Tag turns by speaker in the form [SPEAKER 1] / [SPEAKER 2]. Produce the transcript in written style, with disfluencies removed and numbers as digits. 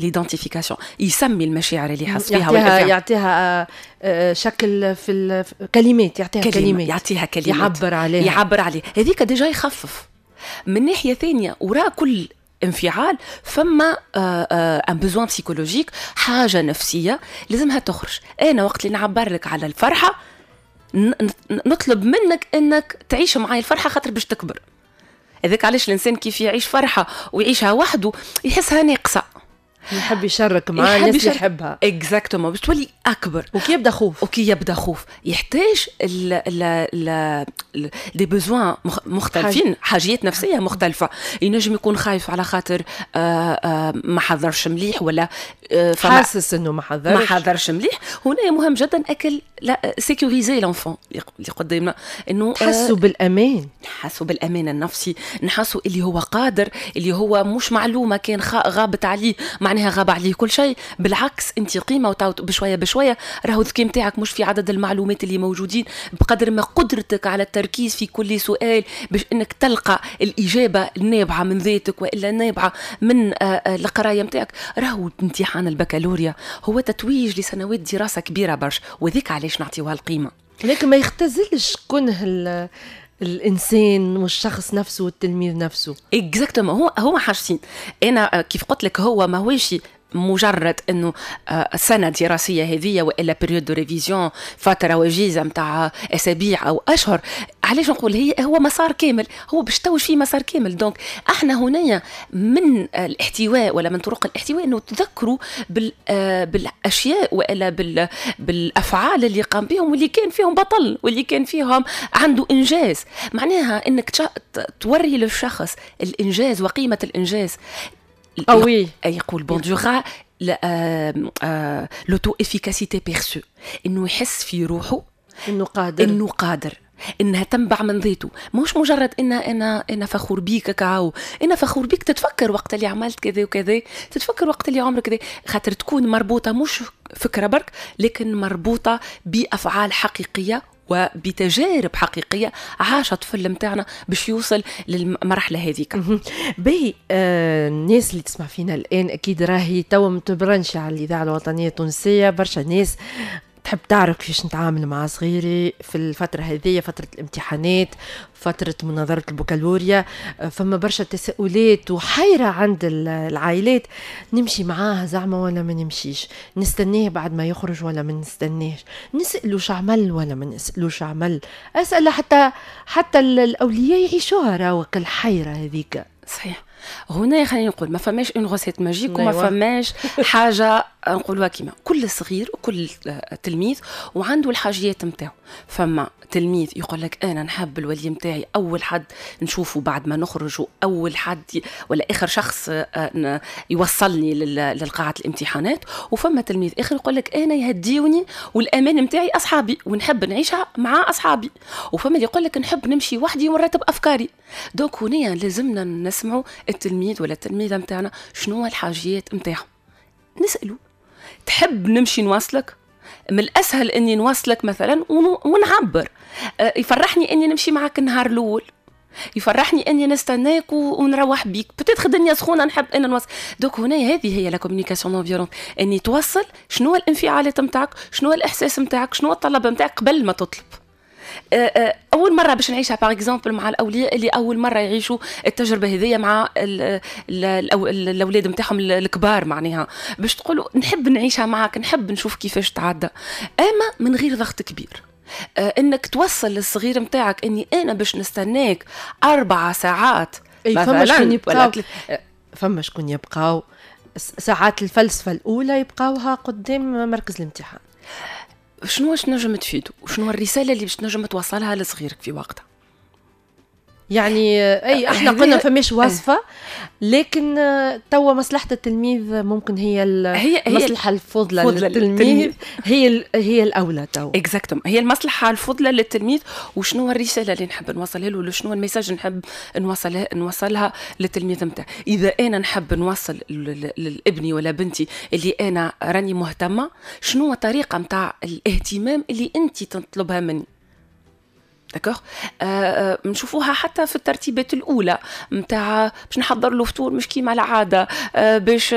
[SPEAKER 1] l'identification، يسمي المشاعر اللي يحس فيها.
[SPEAKER 2] يعطيها شكل في كلمات، يعطيها كلمات.
[SPEAKER 1] يعطيها كلمات.
[SPEAKER 2] يعبر عليها.
[SPEAKER 1] يعبر عليه، هذيك déjà يخفف. من ناحية ثانيه، وراء كل انفعال فما un besoin psychologique، حاجة نفسية لازمها تخرج. انا وقت اللي نعبر لك على الفرحه، نطلب منك انك تعيش معي الفرحة خاطر باش تكبر. هذاك علاش الانسان كيف يعيش فرحه ويعيشها وحده يحسها ناقصه.
[SPEAKER 2] يحب يشارك مع الناس اللي يحبها.
[SPEAKER 1] exactement، باش تولي اكبر.
[SPEAKER 2] وكي يبدا خوف.
[SPEAKER 1] وكي يبدا خوف يحتاج des besoins مختلفين، حاجيات نفسية مختلفه. ينجم يكون خايف على خاطر ما حضرش مليح ولا
[SPEAKER 2] حاسس انه ما حضرش.
[SPEAKER 1] ما حضرش مليح. هنا مهم جدا اكل لا sécuriser l'enfant اللي قدامنا
[SPEAKER 2] انه تحسوا بالامان.
[SPEAKER 1] نحسوا بالامان النفسي، نحسوا اللي هو قادر، اللي هو مش معلومة كان غابت عليه معناها غاب عليه كل شيء. بالعكس، انت قيمه، بشوية بشويه. راهو الذكاء نتاعك مش في عدد المعلومات اللي موجودين بقدر ما قدرتك على التركيز في كل سؤال باش انك تلقى الاجابة النابعه من ذاتك والا النابعه من القراية نتاعك. راهو امتحان البكالوريا هو تتويج لسنوات دراسة كبيرة برشا، وذيك علاش نعطيوها القيمه.
[SPEAKER 2] لكن ما يختزلش كنه الانسان والشخص نفسه والتلميذ نفسه.
[SPEAKER 1] exactement. هو هو حاجتين. انا كيف قلت لك، هو ما هوش مجرد انه سنة دراسية هذه والا période de révision، فترة وجيزة نتاع اسابيع او اشهر. علاش نقول هي هو مسار كامل؟ هو باش توج فيه مسار كامل. donc احنا هنا من الاحتواء ولا من طرق الاحتواء انه تذكروا بالاشياء والا بالافعال اللي قام بهم واللي كان فيهم بطل واللي كان فيهم عنده انجاز. معناها انك توري للشخص الانجاز وقيمه الانجاز.
[SPEAKER 2] قوي.
[SPEAKER 1] يقول بوندورا l'auto-efficacité perçue، انه يحس في روحه
[SPEAKER 2] انه قادر.
[SPEAKER 1] انه قادر، انها تنبع من ذاته، مش مجرد ان انا فخور بيك كاو. انا فخور بيك، تتفكر وقت اللي عملت كذا وكذا، تتفكر وقت اللي عمرك كذا، خاطر تكون مربوطه، مش فكرة برك، لكن مربوطة بافعال حقيقية وبتجارب حقيقية عاش الطفل نتاعنا باش يوصل للمرحلة هذيك.
[SPEAKER 2] باهي، الناس اللي تسمع فينا الان اكيد راهي توا متبرنش على الاذاعة الوطنية التونسيه. برشا ناس تحب تعرف كيفاش نتعامل مع صغيري في الفترة هذه، فترة الامتحانات، فترة مناظرة البكالوريا. فما برشا تساؤلات وحيرة عند العائلات: نمشي معاه زعما ولا ما نمشيش؟ نستناه بعد ما يخرج ولا ما نستناش؟ نسألو شعمل ولا ما نسألوش عمل؟ أسأل حتى الأولياء يعيشوها راهو الحيرة هذيك.
[SPEAKER 1] صحيح. هنا خلينا نقول ما فماش une recette magique وما فماش حاجة نقولوها كيما كل صغير وكل تلميذ وعنده الحاجيات نتاعو. فما تلميذ يقول لك انا نحب الولي نتاعي اول حد نشوفه بعد ما نخرج، اول حد ولا اخر شخص يوصلني للقاعه الامتحانات. وفما تلميذ اخر يقول لك انا يهديوني والامان نتاعي اصحابي ونحب نعيشها مع اصحابي. وفما اللي يقول لك نحب نمشي وحدي ونرتب افكاري. donc هنا لازمنا نسمعوا التلميذ ولا التلميذة نتاعنا، شنو الحاجيات نتاعهم. نسالوا: تحب نمشي نواصلك؟ من الاسهل اني نواصلك مثلا ونعبر. يفرحني اني نمشي معك النهار الاول، يفرحني اني نستناك ونروح بيك، peut-être الدنيا سخونه، نحب ان نوصل. donc هنا هذه هي la communication non violente، اني توصل شنو الانفعالات نتاعك، شنو الاحساس نتاعك، شنو الطلب نتاعك قبل ما تطلب. اول مرة باش نعيشها par exemple مع الاولياء اللي اول مرة يعيشوا التجربة هذيا مع الاولاد نتاعهم الكبار، معناها باش تقولوا نحب نعيشها معك، نحب نشوف كيفاش تعدى، اما من غير ضغط كبير. انك توصل للصغير نتاعك اني انا باش نستناك 4 ساعات.
[SPEAKER 2] مثلا فما شكون يبقاو ساعات الفلسفة الاولى يبقاوها قدام مركز الامتحان.
[SPEAKER 1] شنو واش نجم تفيدو وشنو الرسالة اللي باش تنجم توصلها لصغيرك في وقتها؟
[SPEAKER 2] يعني اي، احنا قلنا فماش وصفه، لكن توا مصلحة التلميذ ممكن هي هي المصلحة الفضلى للتلميذ هي هي الاولى توا.
[SPEAKER 1] exactement، هي المصلحة الفضلى للتلميذ، وشنو الرسالة اللي نحب نوصلها له، شنو ال message نحب نوصلها للتلميذ نتاعي. اذا انا نحب نوصل لابني ولا بنتي اللي انا راني مهتمه، شنو الطريقة نتاع الاهتمام اللي انت تطلبها مني؟ d'accord، نشوفوها حتى في الترتيبات الاولى نتاع باش نحضر له فطور مش كيما العاده، باش